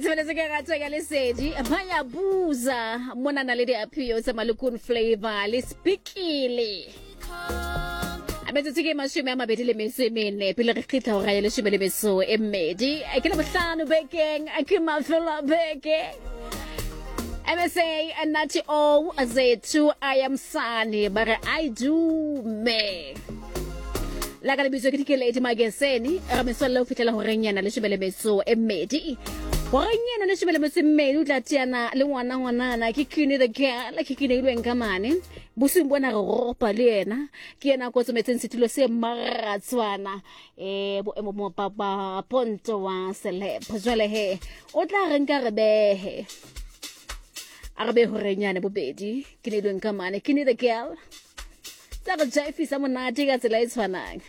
Tshebeletso ke rato ya lesedi ba ya buza mona na le diaphio tsa malokun flavor le spikile a metsotso ke 24 pele re kgitla hora ya 12 ke le bohlano bekeng ke mafelo a beke. MSA Nati O Zethu I am Sani ba re I do me la ka lebitso ke Dikeledi Mageseni re metswalle ho fihlela horeng yana 12. Horeng yana 12 o tla teana le ngwana ngwanana ke Kini the girl ke Kini ilweng ka mane bosing bona re ropa le yena ke yena a kotsometseng setulo se maratswana boemo mo papa ponto wa celeb jwale he o tla re nka re behe a re be horeng yane bobedi ke ne ilweng ka mane Kini the girl tsa re jaifisa monate ka tsela e tshwanang.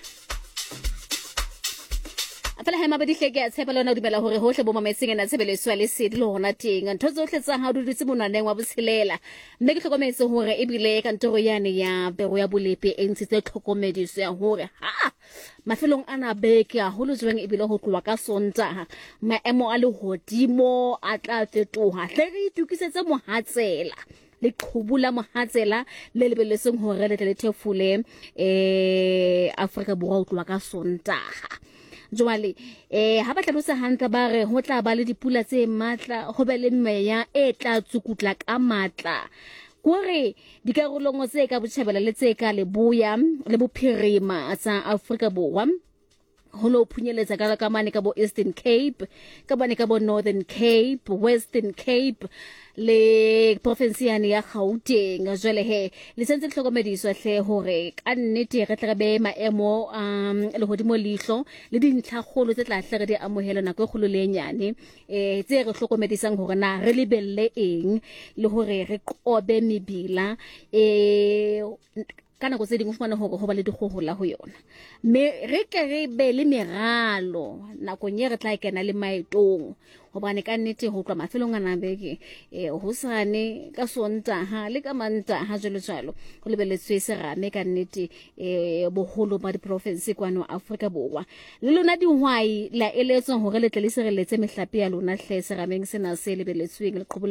Fela he mabedi hle ke a tshepa le wena o dumela hore hohle bo mametseng ena tshebeletso ya lesedi le hona teng ntho tsohle tsa hao di dutse monwaneng wa botshelela mme ke hlokometse hore ebile kantoro yane ya bero ya bolepe e ntshitse tlhokomediso ya hore ha mafelong ana beke haholo jwang ebile ho tloha ka Sontaha maemo a lehodimo a tla fetoha hle re itukisetse mohatsela leqhubu la mohatsela le lebeletseng hore le tle le thefule Afrika Borwa ho tloha ka Sontaha. Jwale ha ba hlalosa hantle ba re ho tla ba le dipula tse matla ho be le meya e tla tsukutla ka matla kore dikarolong tse ka botjhabela le tse ka leboya le bophirima tsa Afrika Borwa ho lo phunyeletsa ka mane ka bo Eastern Cape ka bane ka bo Northern Cape Western Cape le province yane ya Gauteng. Jwale he le sentse le hlokomediswa hle hore ka nnete re tle re be maemo lehodimo leihlo le dintlha kgolo tse tla hle re di amohele nako e kgolo le e nyane tse re hlokomedisang hore na re lebelle eng le hore re qobe mebila ka nako tse dingwe o fumane hore ho ba le dikgohola ho yona mme re ke re be le meralo nakong e re tla kena le maetong hobane ka nnete ho tloha mafelong ana beke hosane ka Sontaha le ka Mantaha jwalo jwalo ho lebeletswe serame ka nnete boholo ba diprofinse kwano Afrika Borwa. Le lona dihwai la eletswa hore le tle le sireletse mehlape ya lona hle serameng sena se lebeletsweng leqhubu.